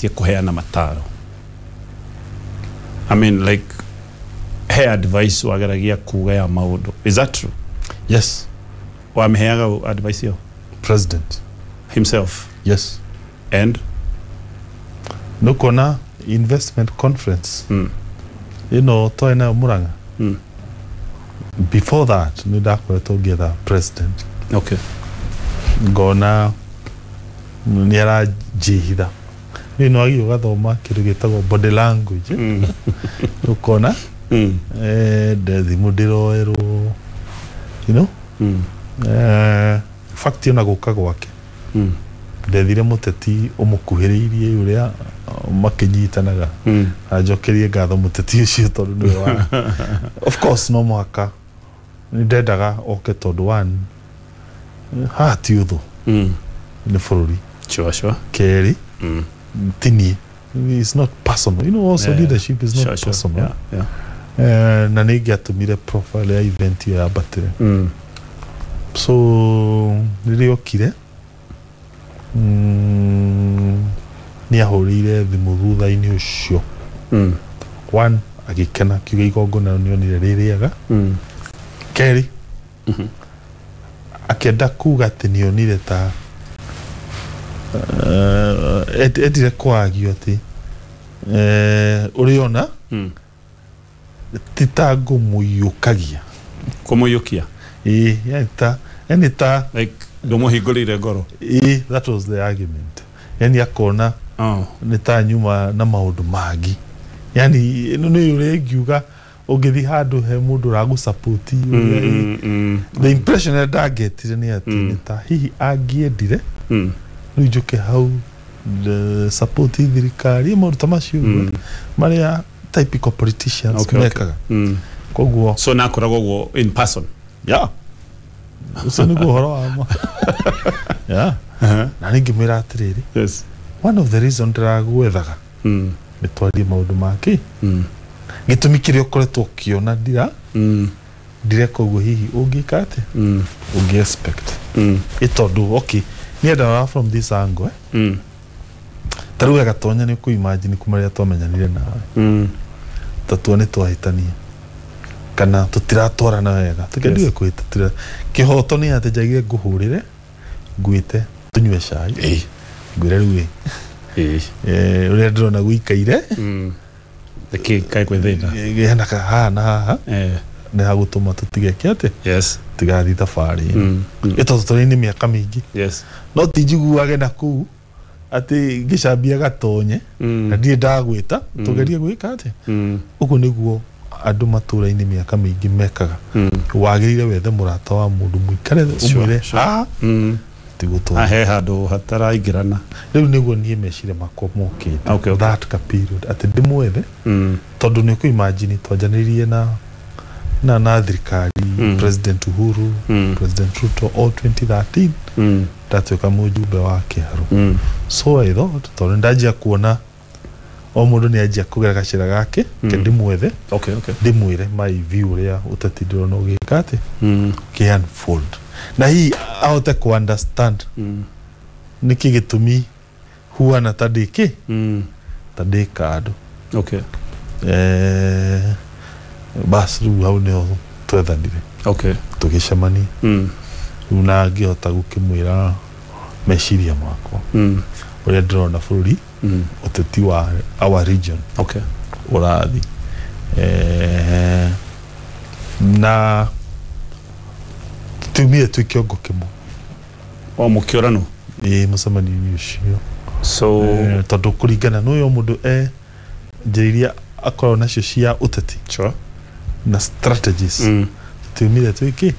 Wageragetie kũheana mataro, I mean, like, he advice wageragia kuga ya maũndũ, is that true? Yes. Wamĩheaga advice ĩyo? President himself? Yes. And? Nũkuona investment conference ĩno twarĩ nayo Murang'a, before that nĩ ndakoretwo ngĩetha president. Ngona nĩ aranjĩhitha. Nĩ no wagĩrĩirwo ũgathoma kĩndũ gĩtagwo body language. Ũkona thimũ ndĩroerwo, fact ona gũka gwake ndethire mũteti ũmũkuhĩrĩirie ũrĩa makĩnyitanaga. Anjokerie ngatho mũteti ũcio tondũ nĩwe wa, of course, no mũhaka nĩ ndendaga oke tondũ one, haha ti ũthũ, nĩ bũrũri. Kerĩ, ti niĩ, it's not personal, also leadership is not personal. Na nĩ ingĩatũmire profile ya event ĩyo yambatĩre. So rĩrĩa okire, nĩ ahũrĩire thimũ thutha-inĩ ũcio. One, agĩkena, akiuga igongona nĩ onire rĩ rĩega. Kerĩ, akĩenda kuga atĩ nĩ onire ta endire kwagio atĩ ũrĩona ti ta ngũmũiyũkagia. Kũmũiyũkia? Ĩĩ, yani ta like ndũmũhingũrĩire ngoro. Ĩĩ, that was the argument, yani akona nĩ ta nyuma na maũndũ mangĩ, yani ĩno nĩ ũrĩa ingiuga ũngĩthiĩ handũ he mũndũ ũragũsupport ũrĩa the impression ĩrĩa ndangetire nĩ atĩ nĩ ta hihi angĩendire rĩu njũke hau the support thirikari, maũndũ ta macio ũguo marĩa typical politicians mekaga. Koguo So nakoragwo ũguo in person? Yeah, ũcio nĩguo ũhoro wa ma, yeah. Na ningĩmwĩra atĩrĩrĩ, one of the reason ndĩragwethaga nĩ twarie maũndũ make, gĩtũmi kĩrĩa ũkoretwo ũkĩona ndira ndireka ũguo, hihi ũngĩka atĩa, ũngĩ expect ĩ tondũ okay, niĩ ndarora from this angle, eh? Ta rĩu we Gatonya, nĩ ũkũ-imagine kuma rĩrĩa twamenyanire nawe, ta tua nĩ twahĩtania kana tũtiratwarana wega, tũkĩendiwe kũhĩta, kĩhoto nĩ atĩ njagire ngũhũrĩre, ngwĩte tũnyue cai, ngwĩre rĩu ĩ, ũrĩa ndĩrona gũikaire, Nĩkĩ kaĩ kwĩ thĩna? Hena haha na haha nĩ hagũtũma tũtige kĩ atĩ tigathiĩ thabarĩ ĩno. Ĩ tondũ tũrĩ-inĩ mĩaka mĩingĩ, no ti njiguage na kũu atĩ ngĩcambia Gatonye na ndirĩ ndagwĩta tũgerie gwĩka atĩa. Ũguo nĩguo andũ matũra-inĩ mĩaka mĩingĩ mekaga. Wagĩrĩire wethe mũrata wa mũndũ, mũikare thĩ, ũmwĩre haha tigũtwara. He handũ hataraingĩrana. Rĩu nĩguo niĩ meciria makwa mokĩte that ka period atĩ ndĩmwethe, tondũ nĩ ũkũ-imagine twanjanĩrie na thirikari, President Uhuru, President Ruto, all 2013 ndatuĩka mũjumbe wa Kĩharu. So I thought tondũ ndanjia kuona o mũndũ nĩ anjia kũgera gacĩra gake, ke ndĩmwethe, ndĩmwĩre my view ũrĩa ũteti ndĩrona ũgĩka atĩ ũkĩ unfold, na hihi ahote ku understand nĩkĩ gĩtũmi huana ta ndĩ kĩ, ta ndĩ kando. Bas, rĩu hau nĩho twethanire, tũgĩcemania rĩu na ngĩhota gũkĩmwĩra meciria makwa, ũrĩa ndĩrona bũrũri, ũteti wa our region ũrathi, na tumire twĩ kĩongo kĩmwe. O mũkĩũranwo? Ĩ, mũcemanio-inĩ ũcio. So tondũ kũringana na ũyũ mũndũ e njĩra iria akoragwo nacio cia ũteti na strategies, tiumire twĩkĩ,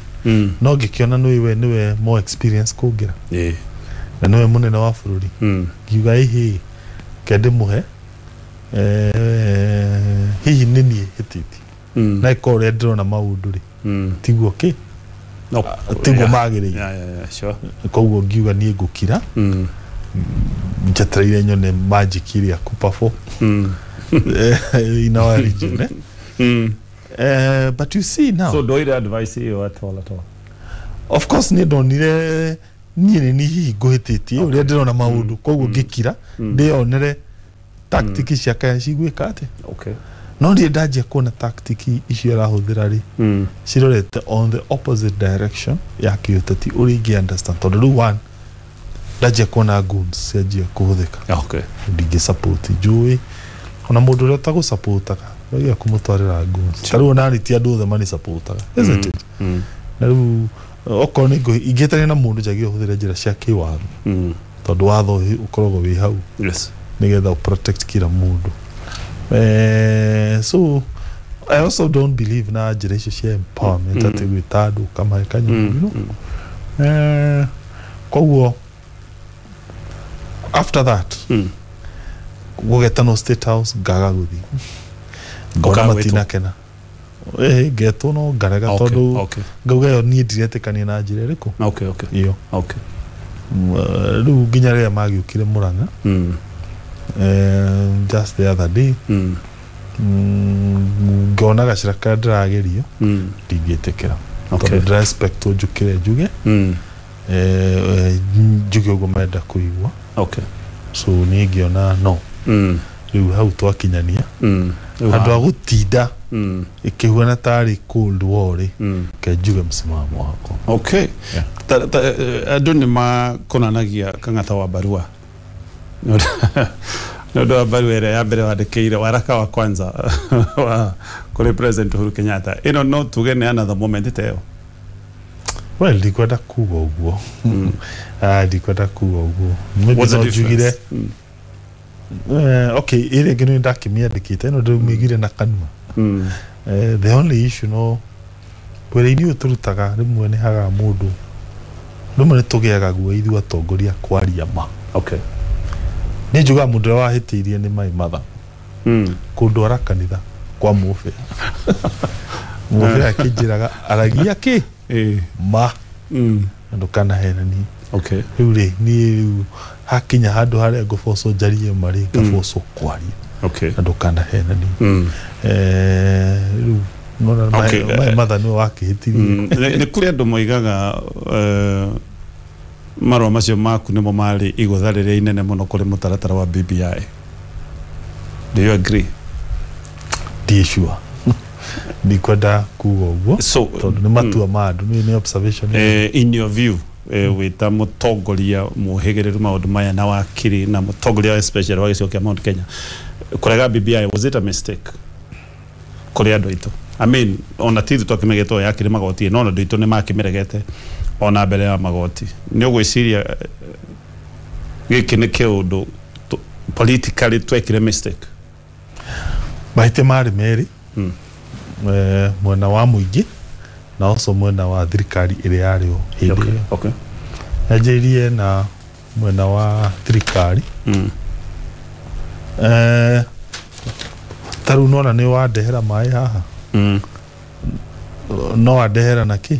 no ngĩkĩona nĩ we nĩwe more experience kũngĩra na nĩwe mũnene wa bũrũri, ngiuga ĩhĩ ke ndĩmũhe, hihi nĩ niĩ hĩtĩtie, na ĩkorwo ũrĩa ndĩrona maũndũ rĩ, tiguo kĩ, No, tiguo magĩrĩire. Koguo ngiuga niĩ ngũkira, njetereire nyone magic ĩrĩa kũperform in our region, eh? But you see now, So ndoire advice ĩyo at all, at all? Of course nĩ ndonire niĩ nĩ niĩ hihi ngũhĩtĩtie ũrĩa ndĩrona maũndũ, koguo ngĩkira ndĩyonere. Tactic cia kaya cigwĩka atĩa. Okay. No niĩ ndanjia kuona tactic icio arahũthĩra rĩ, cirorete on the opposite direction ya kĩũteti ũrĩa ingĩ understand, tondũ rĩu one, ndanjia kuona goons cianjia kũhũthĩka. Okay. Ndingĩ support, njũĩ ona mũndũ ũrĩa ũtagũsupportaga wagia kũmũtwarĩra goons. Ta rĩu onani ti andũ othe manisupportaga, isn't it? Na rĩu okorwo nĩ ingĩtania na mũndũ, njagĩrĩirwo hũthĩre njĩra cia kĩwatho, tondũ watho ũkoragwo wĩ hau nĩgetha protect kila mũndũ. So I also don't believe na njĩra icio cia empowerment, atĩ gwĩta andũ ũkamahe kanyamũ, you know? Koguo after that, gũgetanwo State House, ngaga gũthiĩ, ngona Ũkaga gwĩtwo? matinakena. Ĩĩ, ngetwo no ngarega, tondũ ngauga ĩyo niĩ ndiretĩkania na njĩra ĩrĩkũ ĩyo. Rĩu nginya rĩrĩa magĩũkire Mũrang'a, just the other day, ngona gacĩra karĩa ndĩragerio, ndingĩtĩkĩra, tondũ ndĩra expect njũkĩre njuge, njuge ũguo marenda kũigua. So niĩ ngĩona no rĩu hau twakinyania, handũ ha gũtinda ĩkĩhuana tarĩ cold war rĩ, ke njuge msimamo wakwa. Okay. Yeah. Ta andũ nĩ makonanagia Kang'ata wa barua nĩ ũndũ wa barua ĩrĩa ya mbere wandĩkĩire, waraka wa kwanza wa kũrĩ President Uhuru Kenyatta. Ĩno no tuge nĩ another moment ta ĩyo? Well, ndikwenda kuga ũguo. Ah, ndikwenda kuga ũguo. Maybe What's the no njugire difference? Okay, ĩrĩa ĩngĩ nĩ ndakĩmĩandĩkĩte, ĩno ndĩmĩigire na kanua. The only issue no wĩra-inĩ ũyũ tũrutaga, rĩmwe nĩ hagaga mũndũ, rĩmwe nĩ tũgĩaga guo ithuĩ atongoria kwaria ma. Niĩ njugaga mũndũ ũrĩa wahĩtĩirie nĩ my mother, kũndwara kanitha kwa mũbĩa, mũbĩa akĩnjĩraga aragia kĩ ma na ndũkanahenanie. Rĩu rĩ, niĩ rĩu hakinya handũ harĩa ngũbocwo njarie marĩ, ngabocwo kwaria na ndũkanahenanie. Rĩu nona my mother nĩwe wakĩhĩtirie. Nĩ kũrĩ andũ moigaga marũa macio maku nĩmo marĩ igũtha rĩrĩa inene mũno kũrĩ mũtaratara wa BBI. Do you agree? Ndiĩ sure, ndikwenda kuga ũguo, So tondũ nĩ matua ma andũ, nĩ observation. In your view, wĩ ta mũtongoria mũhĩgĩrĩru maũndũ maya na wakiri na mũtongoria especially wa gĩcigo kĩa Mount Kenya, kũrega BBI, was it a mistake kũrĩ andũ aitũ? I mean, ona ti ithuĩ twakĩmegetwo yakĩrĩ magoti, no ona andũ aitũ nĩ makĩmĩregete ona mbere ya magoti. Nĩ ũgwĩciria gĩkĩ nĩ kĩũndũ politically twekire mistake? Mahĩtia marĩ merĩ, mwena wa mũingĩ na also mwena wa thirikari ĩrĩa yarĩ ho hĩndĩ ĩyo. Yanjĩrĩirie na mwena wa thirikari. Ta rĩu nona nĩ wandehera maĩ haha, no wandehera na kĩ,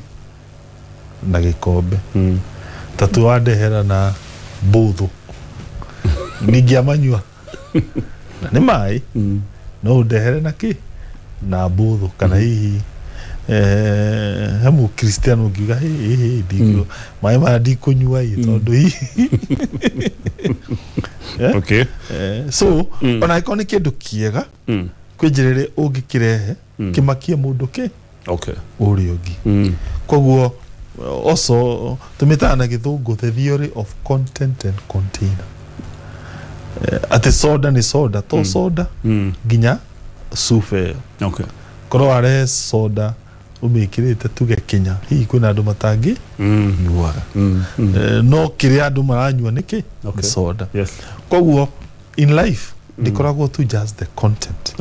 na gĩkombe, ta tu wandehera na mbũthũ, ningĩamanyua na nĩ maĩ. No ũndehere na kĩ, na mbũthũ, kana hihi he mũkristiano ũngiuga, "Hĩ, hĩ, hĩ, maĩ maya ndikũnyua ĩ," tondũ hihi so ona angĩkorwo nĩ kĩndũ kĩega, kwĩ njĩra ĩrĩa ũngĩkĩrehe kĩmakie mũndũ kĩ ũrĩa ũngĩ. Koguo also tũmĩtaga na gĩthũngũ the theory of content and container. Atĩ soda nĩ soda to soda nginya cuba ĩyo. Korwo warehe soda ũmĩkĩrĩte tuge kinya, hihi kwĩna andũ matangĩ nyuaga. No kĩrĩa andũ maranyua nĩ kĩ? Nĩ soda. Koguo in life ndĩkoragwo tu just the content,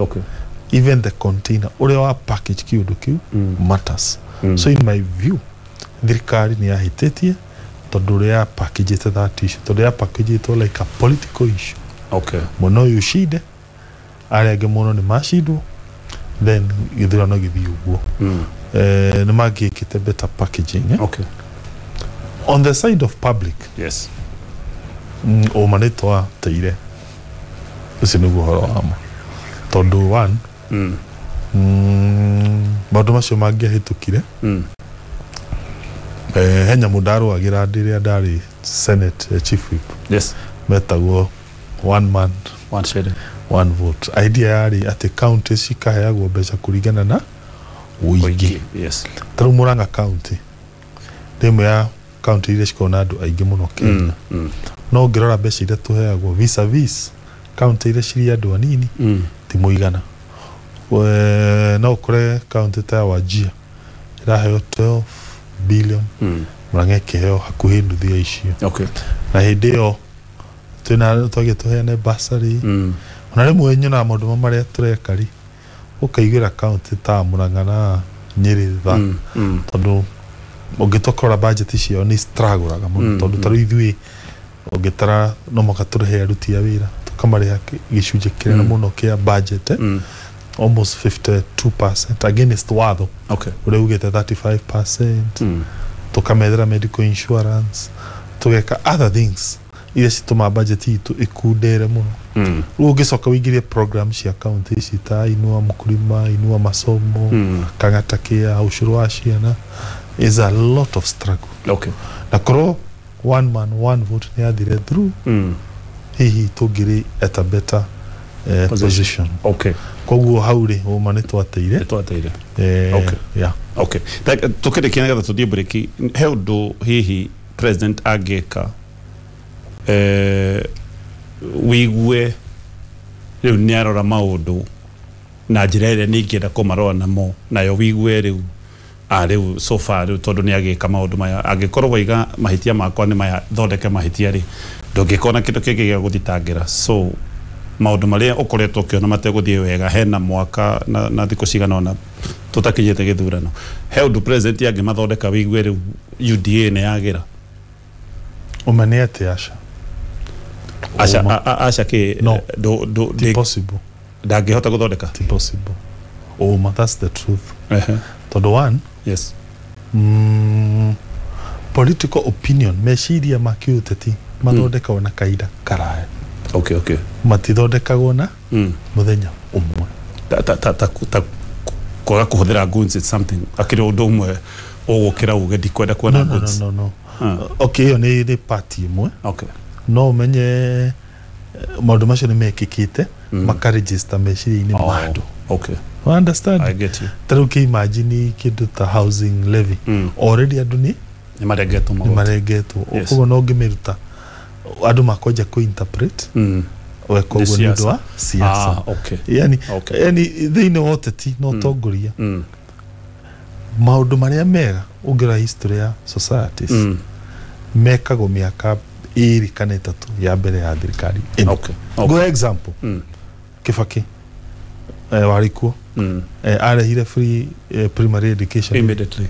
even the container ũrĩa wa package kĩũndũ kĩu matters. So in my view, thirikari nĩ yahĩtĩtie tondũ ũrĩa ya packagĩte that issue, tondũ ya packagĩtwo like a political issue. Mwena ũyũ ũcinde, arĩa angĩ mũno nĩ macindwo, then gĩthurano gĩthiĩ ũguo. Nĩ mangĩkĩte better packaging, eh? On the side of public, ũma nĩ twateire, ũcio nĩguo ũhoro wa ma, tondũ one, maũndũ macio mangĩahĩtũkire, he nyamũ ndarũagĩra rĩrĩa ndarĩ Senate, chief whip, metagwo one man One shilling one vote. Idea yarĩ atĩ county cikaheagwo mbeca kũringana na ũingĩ. Yes. Ta rĩu Murang'a county nĩ ĩmwe ya county iria cikoragwo na andũ aingĩ mũno Kenya. No ũngĩrora mbeca iria tũheagwo vis-a-vis county iria cirĩ andũ anini ti mũigana. No ũkore county ta ya Wajir ĩraheo 12 billion, Murang'a ĩkĩheo hakuhĩ nuthu ya icio. Okay. Na hĩndĩ ĩyo twĩna twagiĩ tũheane bursary. Ona rĩmwe nyonaga maũndũ marĩa tũreka rĩ, ũkaiguĩra county ta Murang'a na Nyĩrĩ tha, tondũ ũngĩtua kũrora budget ciao nĩ struggle-aga mũno, tondũ ta rĩu ithuĩ ũngĩtara no mũhaka tũrĩhe aruti a wĩra, tũkamarĩha gĩcunjĩ kĩnene mũno kĩa budget, almost 52% against watho ũrĩa ugĩte 35%, tũkamethera medical insurance, tũgeka other things iria citũmaga budget itũ ĩkundere mũno. Rĩu ũngĩcoka ũingĩrie program cia county ici ta Inua Mkulima, Inua Masomo, Kang'ata Care, ũcũrũ wa ciana, is a lot of struggle. Okay. Na korwo one man one vote nĩ yathire through, hihi tũngĩrĩ at a better position. Okay. Koguo hau rĩ, ũma nĩ twateire. Nĩ twateire. Okay. Yeah. Okay. Tũkĩrĩkia nĩgetha tũthiĩ break, he ũndũ hihi president angĩka wigue rĩu nĩ arora maũndũ na njĩra ĩrĩa nĩ ingĩenda kũmarora namo nayo, wigue rĩu rĩu so far rĩu tondũ nĩ agĩka maũndũ maya, angĩkorwo waiga mahĩtia makwa nĩ maya, thondeke mahĩtia rĩ, ndũngĩkona kĩndũ kĩngĩ gĩa gũthitangĩra. So maũndũ marĩa ũkoretwo ũkĩona mategũthiĩ wega hena mwaka na thikũ cigana ũna tũtakinyĩte gĩthurano, he ũndũ president angĩmathondeka wigue rĩu UDA nĩ yagĩra? Ũma nĩ atĩ aca. Aca aca kĩ? No. Ti possible. Ndangĩhota gũthondeka? Ti possible. Ũma, that's the truth. Tondũ one, yes, political opinion, meciria ma kĩũteti mathondekagwo na kahinda karaya. Okay, okay. Matithondekagwo na mũthenya ũmwe. Ta kwaga kũhũthĩra guns is something akĩrĩ ũndũ ũmwe ũgũkĩra uge ndikwenda kuona guns. No, no, no. Okay, ĩyo nĩ part ĩmwe. Okay. No ũmenye maũndũ macio nĩ mekĩkĩte, makaregister meciria-inĩ ma andũ. Okay. You understand? I get you. Ta rĩu kĩ-imagine kĩndũ ta housing levy. Already andũ nĩ nĩ marengetwo magoti. Nĩ marengetwo. Koguo no ũngĩmĩruta andũ makwanja kũ-interpret weka ũguo nĩ ũndũ wa siasa. Okay. Yani, yani thĩinĩ wa ũteti na ũtongoria, maũndũ marĩa mega ũngĩrora history ya societies mekagwo mĩaka 2 kana 3 ya mbere ya thirikari ĩno. Okay. Okay. Go example. Kibaki warĩ kuo, arehire free primary education immediately.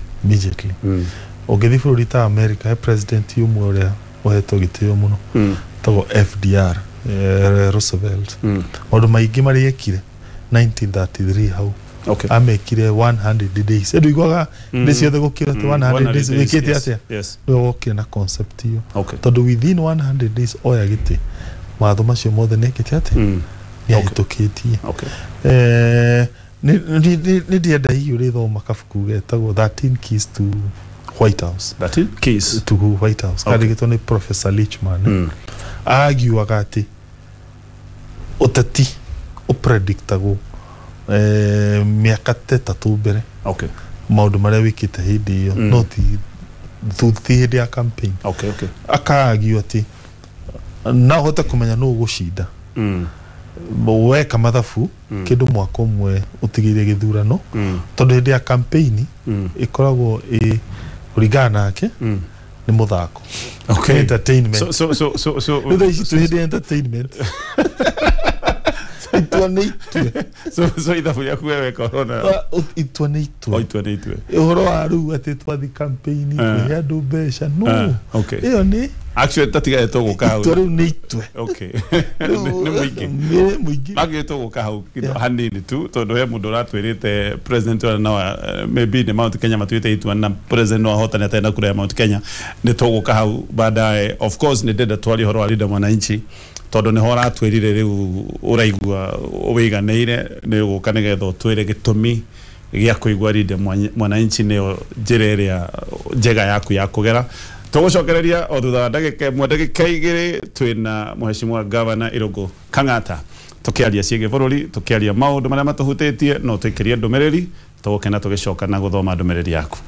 Ũngĩthiĩ bũrũri ta America, he president ũmwe ũrĩa ũhetwo gĩtĩo mũno tagwo FDR, Roosevelt. Maũndũ maingĩ marĩa ekire 1933 hau. Okay. Amekire 100 days. Andũ iguaga ndĩ ciothe gũkĩra atĩ 100 days wĩkĩte atĩa? Yes. Nĩwe wokire na concept ĩyo. Okay. Tondũ within 100 days oya gĩtĩ, mawatho macio mothe nĩ ekĩte atĩa? Nĩ ahĩtũkĩtie. Okay. Nĩ ndĩrenda hihi ũrĩthoma kabuku getagwo 13 Keys to White House. 13 Keys to White House. Kandĩkĩtwo nĩ Professor Lichman. Agiuaga atĩ ũteti ũpredictagwo mĩaka ta 3 mbere. Okay. Maũndũ marĩa wĩkĩte hĩndĩ ĩyo, no ti hĩndĩ ya campaign. Okay, okay. Akaagio atĩ no ũhote kũmenya nũ ũgũcinda weka mathabu kĩndũ mwaka ũmwe ũtigĩire gĩthurano, tondũ hĩndĩ ya campaign ĩkoragwo ĩ kũringana nake nĩ mũthako. Okay. Entertainment. So rĩu thaa ici twĩ hĩndĩ ya entertainment. Itua nĩ itue. So ithabu rĩaku we weka ũrona. Itua nĩ itue. Itua nĩ itue. Ũhoro wa rĩu atĩ twathi campaign kũhe andũ mbeca, no. Okay. Ĩyo nĩ actually tatigae tũgũka hau. Itua rĩu nĩ itue. Okay. Nĩ mũingĩ. Nĩ mũingĩ. Magĩ tũgũka hau hanini tu tondũ he mũndũ ũratwĩrĩte president ũrĩa no maybe nĩ Mount Kenya matuĩte itua na president no ahotane atarĩ na kura ya Mount Kenya. Nĩ tũgũka hau baadaye. Of course nĩ ndĩrenda twarie ũhoro wa Linda Mwananchi tondũ nĩho ũratwĩrire rĩu ũraigua wĩiganĩire nĩ ũgũka nĩgetha ũtwĩre gĩtũmi gĩa kũigua Linda Mwananchi nĩyo njĩra ĩrĩa njega yaku ya kũgera. Tũgũcokereria o thutha wa ndagĩka ĩmwe ndagĩka 2 twĩna Mheshimiwa Governor Irũngũ Kang'ata. Tukiaria ciĩgiĩ bũrũri, tukiaria maũndũ marĩa matũhutĩtie, no tũikĩrie ndũmĩrĩri, tũgũkena tũgĩcoka na gũthoma ndũmĩrĩri yaku.